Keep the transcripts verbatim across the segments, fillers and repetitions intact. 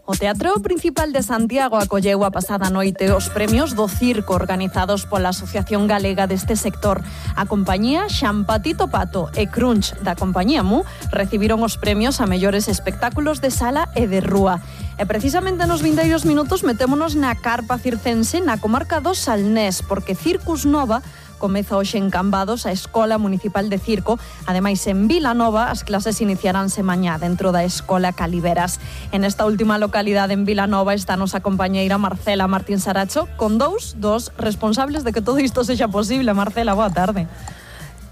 O Teatro Principal de Santiago acolleu a pasada noite os premios do circo organizados pola Asociación Galega deste sector. A compañía Xampatito Pato e Crunch da compañía Mu recibiron os premios a mellores espectáculos de sala e de rúa. E precisamente nos vindeiros minutos metémonos na carpa circense na comarca do Salnés, porque Circus Nova comeza hoxe en Cambados a Escola Municipal de Circo. Ademais, en Vilanova, as clases iniciaránse mañá dentro da Escola Caliveras. En esta última localidade, en Vilanova, está a nosa compañeira Marcela Martín Saracho, con dous dos responsables de que todo isto sexa posible. Marcela, boa tarde.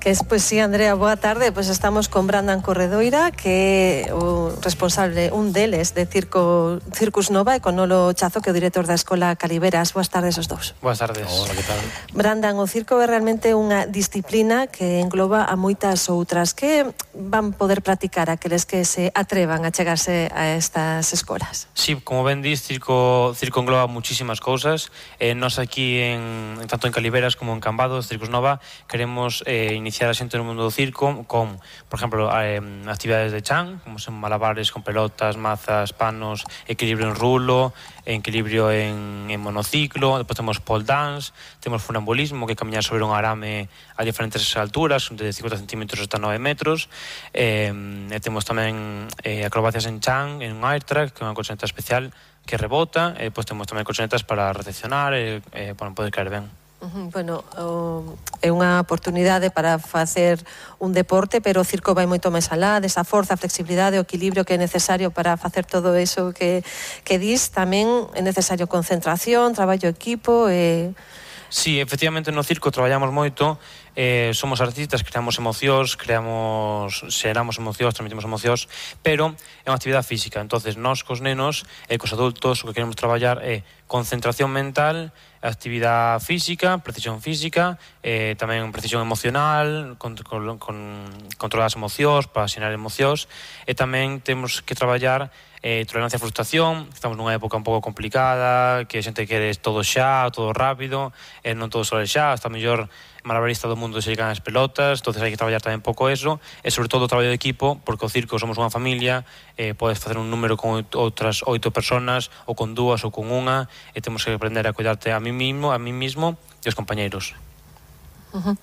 Que es, pues sí, Andrea, boa tarde. Pues estamos con Brandan Corredoira, que é o responsable, un deles, de Circo, Circus Nova, e con Nolo Chazo, que é o director da Escola Caliveras. Boas tardes os dous. Boas tardes. Hola, que tal? Brandan, o circo é realmente unha disciplina que engloba a moitas outras. Que van poder practicar aqueles que se atrevan a chegarse a estas escolas? Sí, como ben dis, circo, circo engloba muchísimas cousas. Eh, nos aquí, en, tanto en Caliveras como en Cambados, Circus Nova, queremos eh, iniciar a xente no mundo do circo con, por exemplo, eh, actividades de chan, como son malabares con pelotas, mazas, panos, equilibrio en rulo, equilibrio en, en monociclo. Depois temos pole dance, temos funambulismo, que é camiñar sobre un arame a diferentes alturas, de cincuenta centímetros hasta nove metros. Eh, e temos tamén eh, acrobacias en chan, en un air track, que é unha colchoneta especial que rebota. E depois temos tamén colchonetas para recepcionar e eh, para poder caer ben. Bueno, é unha oportunidade para facer un deporte, pero o circo vai moito máis alá desa forza, a flexibilidade, o equilibrio que é necesario para facer todo eso que, que dis. Tamén é necesario concentración, traballo equipo e... Sí, efectivamente no circo traballamos moito, eh, somos artistas, creamos emocións, creamos, xeramos emocións, transmitimos emocións, pero é unha actividade física. Entonces, nós cos nenos e cos adultos o que queremos traballar é concentración mental, actividade física, precisión física, eh, tamén precisión emocional, con, con, con controlar as emocións, para xerar emocións, e tamén temos que traballar Eh, tolerancia a frustración. Estamos nunha época un pouco complicada, que a xente quere todo xa, todo rápido, e non todo só xa. Hasta o mellor malabarista do mundo se llegan as pelotas, entonces hai que traballar tamén un pouco eso, e sobre todo o traballo de equipo, porque o circo somos unha familia, eh, podes facer un número con outras oito personas, ou con dúas, ou con unha, e temos que aprender a cuidarte a mí mismo, a mí mismo e os compañeiros. Uh-huh.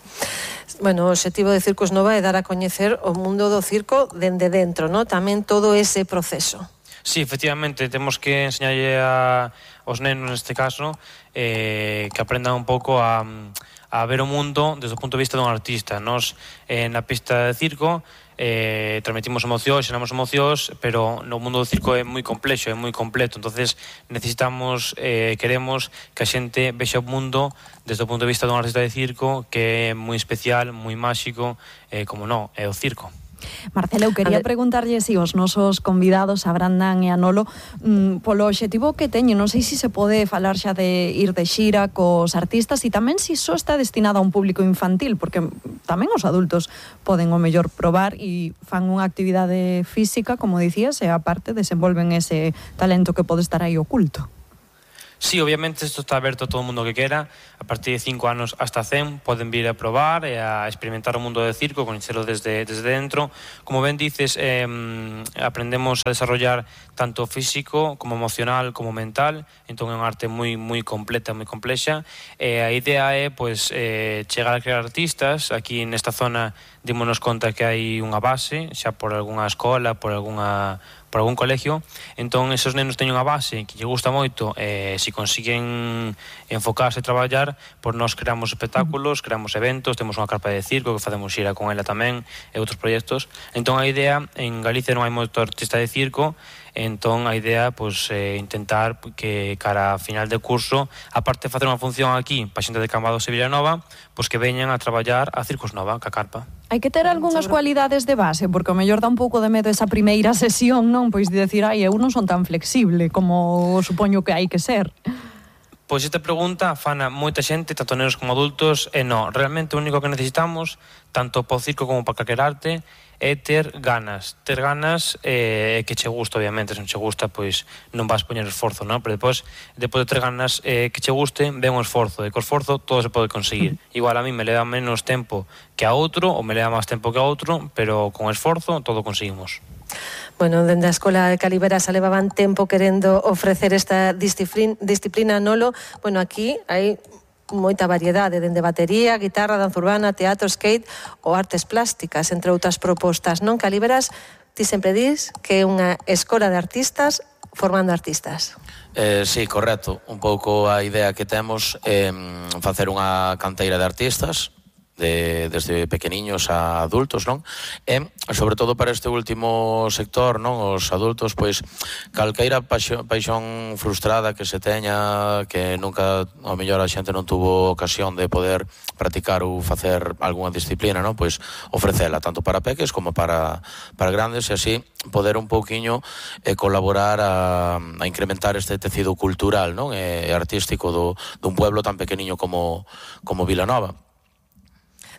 Bueno, o objetivo de Circus Nova é dar a coñecer o mundo do circo dende dentro, ¿no? Tamén todo ese proceso. Sí, efectivamente, temos que enseñarlle a, aos nenos, neste caso, eh, que aprendan un pouco a, a ver o mundo desde o punto de vista dun artista. Nos, eh, na pista de circo, eh, transmitimos emocións, xeramos emocións, pero no mundo do circo é moi complexo, é moi completo. Entonces necesitamos, eh, queremos que a xente vexa o mundo desde o punto de vista dun artista de circo, que é moi especial, moi máxico, eh, como non, é o circo. Marcela, eu quería preguntarlle si os nosos convidados, a Brandan e a Nolo, mmm, polo obxectivo que teñen, non sei se se pode falar xa de ir de xira cos artistas, e tamén se só está destinado a un público infantil, porque tamén os adultos poden o mellor probar e fan unha actividade física, como dicías, e aparte desenvolven ese talento que pode estar aí oculto. Sí, obviamente isto está aberto a todo o mundo que quera. A partir de cinco anos hasta cen poden vir a probar e a experimentar o mundo do circo, coñecelo desde, desde dentro. Como ben dices, eh, aprendemos a desarrollar tanto físico como emocional como mental. Entón é unha arte moi moi completa, moi complexa. E a idea é pois, eh, chegar a crear artistas. Aquí nesta zona dímonos conta que hai unha base, xa por algunha escola, por algunha por algún colegio. Entón esos nenos teñen unha base que lle gusta moito, e se consiguen enfocarse e traballar, pois nós creamos espectáculos, creamos eventos, temos unha carpa de circo que facemos xira con ela tamén e outros proxectos. Entón a idea, en Galicia non hai moito artista de circo, entón a idea pois é intentar que cara a final de curso, aparte de facer unha función aquí para xente de Cambados e Vilanova, pois que veñan a traballar a Circus Nova, ca carpa. Hai que ter algunhas cualidades de base, porque o mellor dá un pouco de medo esa primeira sesión, non? Pois de decir, ai, eu non son tan flexible como supoño que hai que ser. Pois esta pregunta fana moita xente, tanto nenos como adultos, e non, realmente o único que necesitamos, tanto para o circo como para calquer arte, é ter ganas, ter ganas e eh, que che gusta, obviamente, se non che gusta, pois non vas poñer esforzo, non? Pero depois, depois de ter ganas eh, que che guste, ven un esforzo, e co esforzo todo se pode conseguir. Igual a mí me leva menos tempo que a outro, ou me leva máis tempo que a outro, pero con esforzo todo conseguimos. Bueno, dende a Escola de Caliveras se levaban tempo querendo ofrecer esta disciplina, disciplina Nolo. Bueno, aquí hai moita variedade, dende batería, guitarra, danza urbana, teatro, skate ou artes plásticas, entre outras propostas. Non, Caliveras, ti sempre dis que é unha escola de artistas formando artistas. Eh, sí, correcto. Un pouco a idea que temos é eh, facer unha canteira de artistas, de, desde pequeniños a adultos, non? E, sobre todo para este último sector, non? Os adultos, pois, calqueira paixón, paixón frustrada que se teña, que nunca, ao mellor, a xente non tuvo ocasión de poder practicar ou facer algunha disciplina, non? Pois, ofrecela, tanto para peques como para, para grandes, e así poder un pouquiño eh, colaborar a, a incrementar este tecido cultural, non? E artístico do, dun pueblo tan pequeniño como, como Vilanova.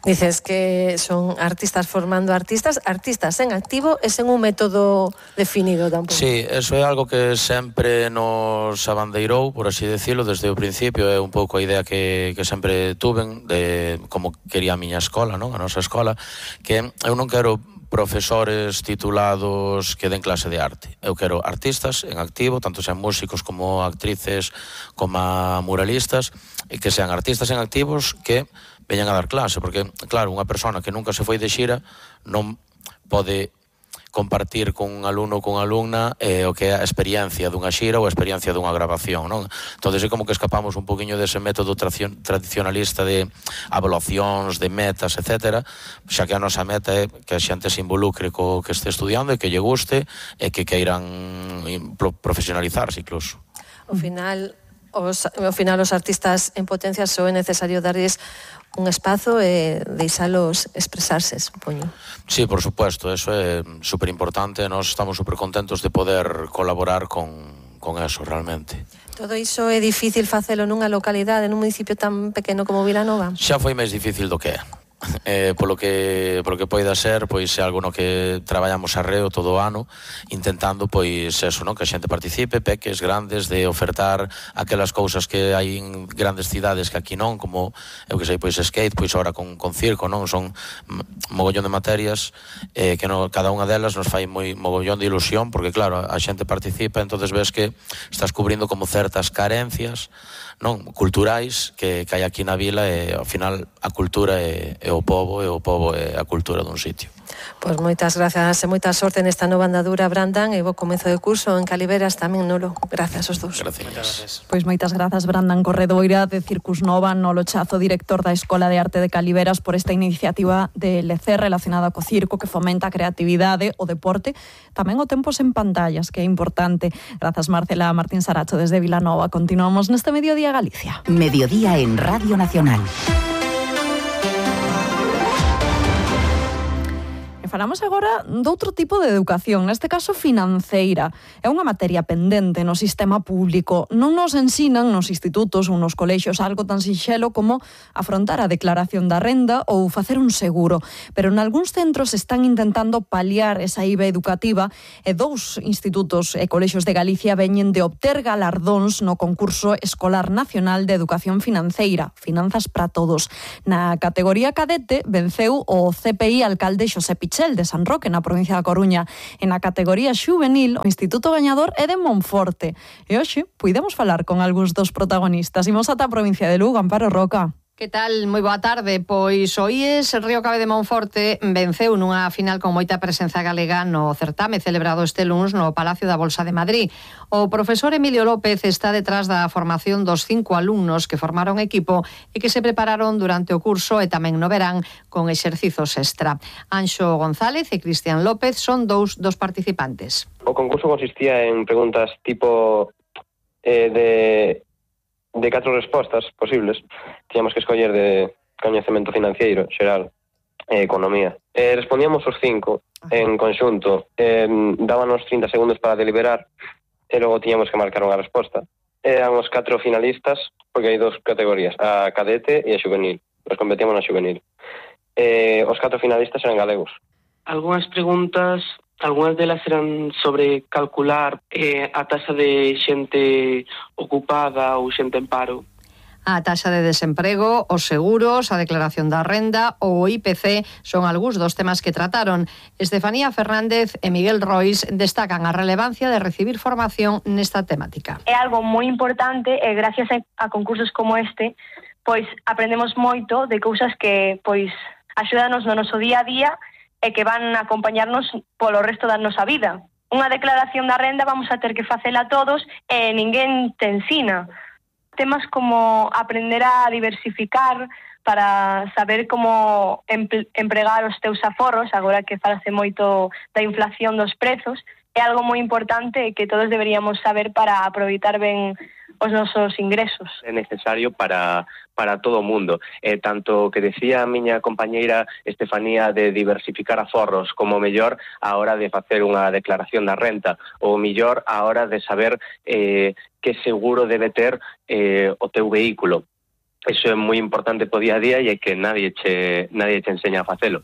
Dices que son artistas formando artistas, artistas en activo e sen un método definido tampouco. Sí, eso é algo que sempre nos abandeirou, por así decirlo, desde o principio. É un pouco a idea que, que sempre tuven de como quería a miña escola, non? A nosa escola, que eu non quero profesores titulados que den clase de arte. Eu quero artistas en activo, tanto sean músicos como actrices, como muralistas, e que sean artistas en activos que veñan a dar clase, porque, claro, unha persona que nunca se foi de xira non pode compartir con un alumno ou con unha alumna eh, o que é a experiencia dunha xira ou a experiencia dunha grabación, non? Entón, é como que escapamos un poquinho dese método tradicionalista de evaluacións, de metas, etcétera, xa que a nosa meta é que a xente se involucre co que este estudiando e que lle guste e que queiran profesionalizarse incluso. Ao final, os, ao final os artistas en potencia só é necesario darles un espazo e deixalos expresarse, supoño. Sí, por supuesto, eso é super importante. Nós estamos super contentos de poder colaborar con, con eso, realmente. Todo iso é difícil facelo nunha localidade, nun municipio tan pequeno como Vilanova? Xa foi máis difícil do que é. Eh, polo que polo que poida ser, pois é algo no que traballamos arreo todo o ano, intentando pois eso, non, que a xente participe, peques grandes, de ofertar aquelas cousas que hai en grandes cidades que aquí non, como eu que sei, pois skate, pois ahora con, con circo, non, son mogollón de materias eh, que no, cada unha delas nos fai moi mogollón de ilusión, porque claro, a xente participa, entonces ves que estás cubrindo como certas carencias, non, culturais que, que hai aquí na vila, e ao final a cultura é, é o pobo, e o pobo é a cultura dun sitio. Pois moitas grazas e moita sorte nesta nova andadura, Brandan, e bo comezo de curso en Caliveras tamén, Nolo. Grazas aos dous. Gracias. Pois moitas grazas, Brandan Corredoira, de Circus Nova, Nolo Chazo, director da Escola de Arte de Caliveras, por esta iniciativa de L C relacionada co circo, que fomenta a creatividade, o deporte, tamén o tempos en pantallas, que é importante. Grazas, Marcela Martín Saracho, desde Vilanova. Continuamos neste Mediodía Galicia. Mediodía en Radio Nacional. Falamos agora doutro tipo de educación, neste caso financeira. É unha materia pendente no sistema público. Non nos ensinan nos institutos ou nos colexios algo tan sinxelo como afrontar a declaración da renda ou facer un seguro. Pero en algúns centros están intentando paliar esa I V A educativa e dous institutos e colexios de Galicia veñen de obter galardóns no concurso escolar nacional de educación financeira, Finanzas para Todos. Na categoría cadete venceu o C P I alcalde Xosé Pichel de San Roque, na provincia da Coruña. En a categoría xuvenil, o instituto gañador é de Monforte. E hoxe, puidemos falar con algúns dos protagonistas. Imos ata a provincia de Lugo, Amparo Roca. Que tal? Moi boa tarde. Pois o I E S Río Cabe de Monforte venceu nunha final con moita presenza galega no certame celebrado este luns no Palacio da Bolsa de Madrid. O profesor Emilio López está detrás da formación dos cinco alumnos que formaron equipo e que se prepararon durante o curso e tamén no verán con exercizos extra. Anxo González e Cristian López son dous dos participantes. O concurso consistía en preguntas tipo eh, de... de catro respostas posibles. Tiñamos que escoller de coñecemento financiero, xeral, e economía. E respondíamos os cinco en conxunto. E dábanos trinta segundos para deliberar e logo tiñamos que marcar unha resposta. Eran os catro finalistas, porque hai dos categorías, a cadete e a xuvenil. Nos competíamos na xuvenil. E os catro finalistas eran galegos. Algunhas preguntas, algunhas delas eran sobre calcular eh, a taxa de xente ocupada ou xente en paro. A taxa de desemprego, os seguros, a declaración da renda ou o I P C son algúns dos temas que trataron. Estefanía Fernández e Miguel Rois destacan a relevancia de recibir formación nesta temática. É algo moi importante e gracias a concursos como este, pois aprendemos moito de cousas que pois axúdanos no noso día a día e que van a acompañarnos polo resto da nosa vida. Unha declaración da renda vamos a ter que facela todos e ninguén te ensina. Temas como aprender a diversificar para saber como empregar os teus aforros, agora que falase moito da inflación dos prezos, é algo moi importante que todos deberíamos saber para aproveitar ben os nosos ingresos. É necesario para, para todo o mundo. Eh, tanto que decía a miña compañeira Estefanía de diversificar aforros, como mellor a hora de facer unha declaración da renta, ou mellor a hora de saber eh, que seguro debe ter eh, o teu vehículo. Iso é moi importante po día a día e é que nadie che, nadie che enseña a facelo.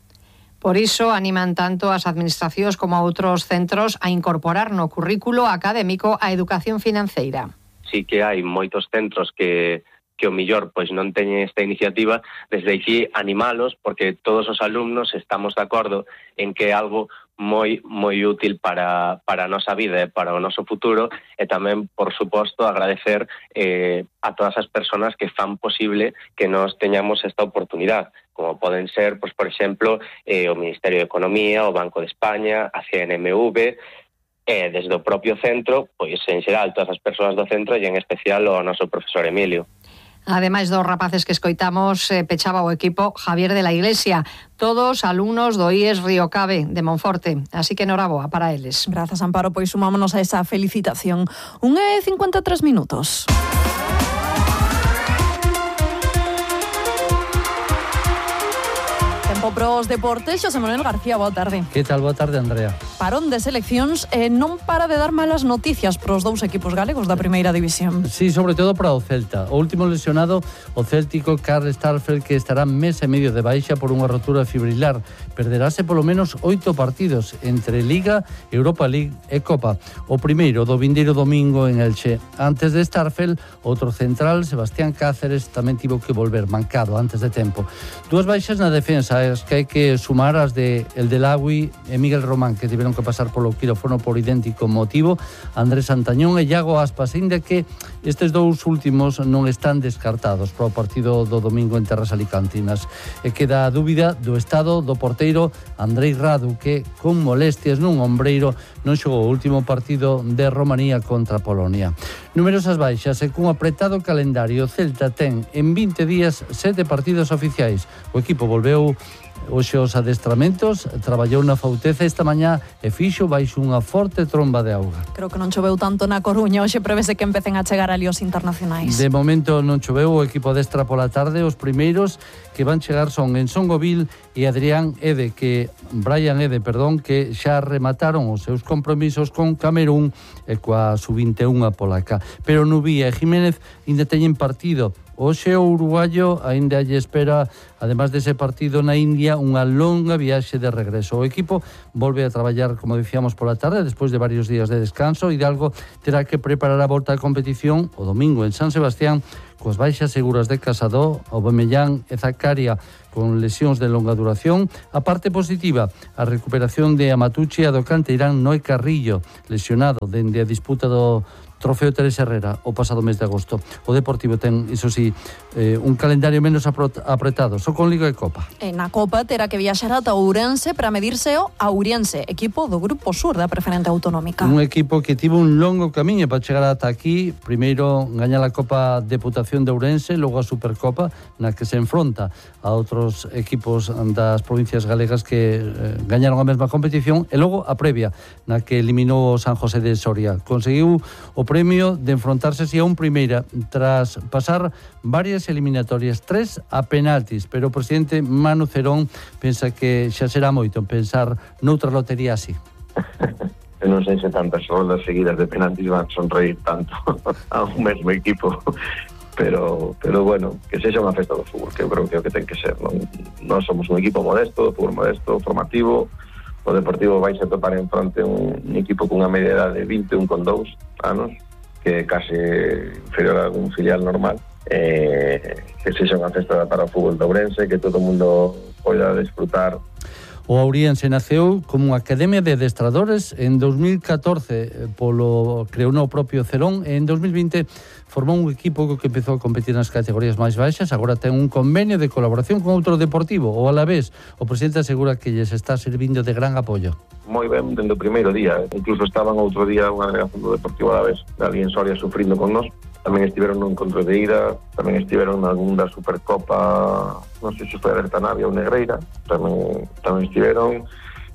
Por iso animan tanto as administracións como a outros centros a incorporar no currículo académico a educación financeira. Sí que hai moitos centros que, que o millor pois non teñen esta iniciativa, desde aquí animalos, porque todos os alumnos estamos de acordo en que é algo moi moi útil para, para a nosa vida e para o noso futuro, e tamén, por suposto, agradecer eh, a todas as persoas que fan posible que nos teñamos esta oportunidade, como poden ser, pois, por exemplo, eh, o Ministerio de Economía, o Banco de España, a C N M V, e desde o propio centro, pois en xeral todas as persoas do centro e en especial o noso profesor Emilio. Ademais dos rapaces que escoitamos, eh, pechaba o equipo Javier de la Iglesia, todos alumnos do I E S Río Cabe de Monforte, así que noraboa para eles. Grazas, Amparo, pois sumámonos a esa felicitación. Un e cincuenta e tres minutos. Tempo pros deportes, Xosé Manuel García, boa tarde. Que tal, boa tarde, Andrea. Parón de seleccións e non para de dar malas noticias pros dous equipos galegos da primeira división. Sí, sobre todo para o Celta. O último lesionado, o céltico Carl Starfelt, que estará mes e medio de baixa por unha rotura fibrilar. Perderase polo menos oito partidos entre Liga, Europa League e Copa. O primeiro do vindeiro domingo en Elche. Antes de Starfelt, outro central, Sebastián Cáceres, tamén tivo que volver mancado antes de tempo. Dúas baixas na defensa, as que hai que sumar as de El Delagui e Miguel Román, que tiveron que pasar polo quirófano por idéntico motivo, Andrés Santañón e Iago Aspas, ainda que estes dous últimos non están descartados para o partido do domingo en terras alicantinas. E queda a dúbida do estado do porteiro Andrei Radu, que con molestias nun ombreiro non xogou o último partido de Romanía contra Polonia. Numerosas baixas e cun apretado calendario, Celta ten en vinte días sete partidos oficiais. O equipo volveu hoxe os adestramentos, traballou na Fauteza esta mañá e fixo baixo unha forte tromba de auga. Creo que non choveu tanto na Coruña, hoxe prevese que empecen a chegar ali os internacionais. De momento non choveu, o equipo adestra pola tarde, os primeiros que van chegar son Enson Govil e Adrián Ede, que Brian Ede, perdón, que xa remataron os seus compromisos con Camerún e coa sub vinte e un polaca. Pero Nubía e Jiménez ainda teñen partido. Hoxe o uruguayo aínda lle espera, además dese partido na India, unha longa viaxe de regreso. O equipo volve a traballar, como dicíamos, pola tarde, despois de varios días de descanso. Hidalgo terá que preparar a volta á competición o domingo en San Sebastián, coas baixas seguras de Casado, Aubameyang e Zakaria con lesións de longa duración. A parte positiva, a recuperación de Amatucci e a do canteirán Noé Carrillo, lesionado dende a disputa do Trofeo Teresa Herrera o pasado mes de agosto. O Deportivo ten, iso sí, eh, un calendario menos apretado, só con Liga e Copa. E na Copa terá que viaxar ata Ourense para medirse o Auriense, equipo do Grupo Sur da Preferente Autonómica. Un equipo que tivo un longo camiño para chegar ata aquí. Primeiro gañar a Copa Deputación de Ourense, logo a Supercopa, na que se enfronta a outros equipos das provincias galegas que eh, gañaron a mesma competición, e logo a previa, na que eliminou o San José de Soria. Conseguiu o premio de enfrontarse así a un primeira tras pasar varias eliminatorias, tres a penaltis, pero o presidente Manu Cerón pensa que xa será moito pensar noutra lotería así. Eu non sei se tantas roldas seguidas de penaltis van sonreír tanto a un mesmo equipo, pero pero bueno, que sexa unha festa do fútbol, que eu creo que é o que ten que ser. Non, non somos un equipo modesto, fútbol modesto, formativo, o Deportivo vai se topar en fronte un, un equipo cunha media edade de vinte e un con dous anos, que é case inferior a algún filial normal, eh, que sexa unha festa para o fútbol de Ourense, que todo o mundo poida desfrutar. O Ouriense naceu como unha academia de adestradores en dos mil catorce, polo creou no propio Cerón, e en dos mil vinte formou un equipo que empezou a competir nas categorías máis baixas. Agora ten un convenio de colaboración con outro deportivo, o Alavés. O presidente asegura que lles está servindo de gran apoio. Moi ben, dende o primeiro día. Incluso estaban outro día unha delegación do Deportivo Alavés, ali en Soria, sufrindo con nós. Tamén estiveron no encontro de ida, tamén estiveron na segunda Supercopa, non sei se foi a Bertanavia ou Negreira, tamén, tamén estiveron.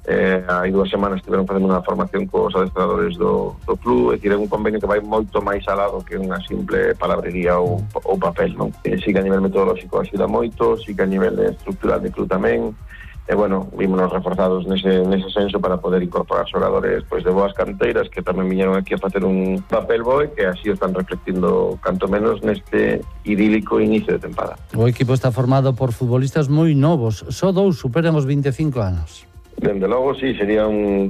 Eh, hai dúas semanas estiveron facendo unha formación cos adestradores do, do club, e tiren un convenio que vai moito máis alado que unha simple palabrería ou, ou papel, non? E sí que a nivel metodolóxico axuda moito, sí que a nivel estructural de club tamén. E, bueno, vímonos reforzados nese, nese senso para poder incorporar xogadores pois, de boas canteiras que tamén viñeron aquí a facer un papel bo e que así o están reflectindo canto menos neste idílico inicio de tempada. O equipo está formado por futbolistas moi novos, só dous superan os vinte e cinco anos. Dende logo, sí, sería un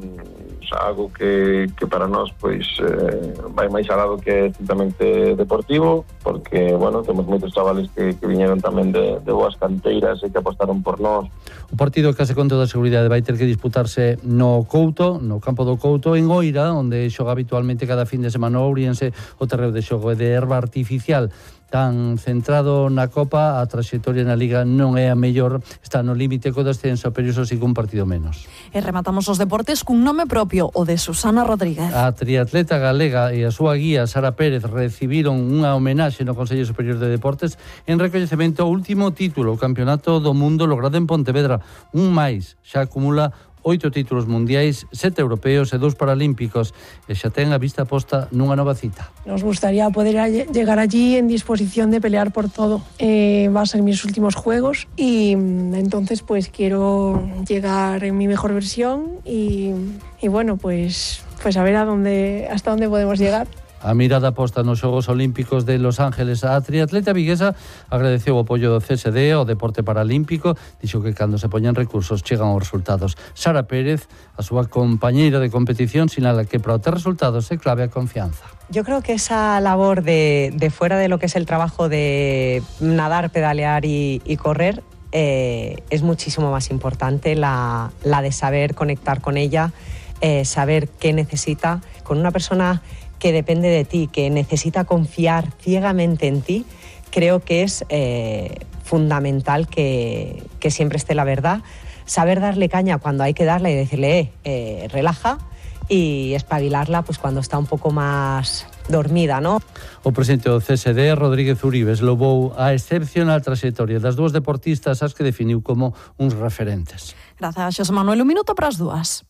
algo que, que para nós pois eh, vai máis alado que estrictamente deportivo, porque, bueno, temos moitos chavales que, que viñeron tamén de, de boas canteiras e que apostaron por nós. O partido case con toda a seguridade vai ter que disputarse no Couto, no campo do Couto, en Oira, onde xoga habitualmente cada fin de semana o Ouriense. O terreo de xogo é de herba artificial. Tan centrado na Copa, a traxectoria na Liga non é a mellor, está no límite co descenso, pero iso sí que un partido menos. E rematamos os deportes cun nome propio, o de Susana Rodríguez. A triatleta galega e a súa guía Sara Pérez recibiron unha homenaxe no Consello Superior de Deportes en recoñecemento ao último título, o Campeonato do Mundo logrado en Pontevedra. Un máis, xa acumula oito títulos mundiais, sete europeos e dous paralímpicos, e xa ten a vista posta nunha nova cita. Nos gustaría poder llegar allí en disposición de pelear por todo. Eh, va a ser mis últimos juegos y entonces pues quiero llegar en mi mejor versión y, y bueno, pues, pues a ver a dónde, hasta dónde podemos llegar. A mirada posta nos Xogos Olímpicos de Los Ángeles, a triatleta viguesa agradeceu o apoio do C S D ao deporte paralímpico, dixo que cando se poñen recursos chegan os resultados. Sara Pérez, a súa compañeira de competición, sinala que para obter resultados é clave a confianza. Yo creo que esa labor de, de fuera de lo que es el trabajo de nadar, pedalear y, y correr eh, es muchísimo más importante la, la de saber conectar con ella, eh, saber qué necesita. Con una persona que depende de ti, que necesita confiar ciegamente en ti, creo que es eh, fundamental que, que siempre esté la verdad, saber darle caña cuando hay que darle y decirle, eh, eh, relaja, y espabilarla pues cuando está un poco más dormida, ¿no? O presidente do C S D, Rodríguez Uribes, louvou a excepcional traxectoria das dúas deportistas, as que definiu como uns referentes. Grazas, Xosé Manuel. Un minuto para as dúas.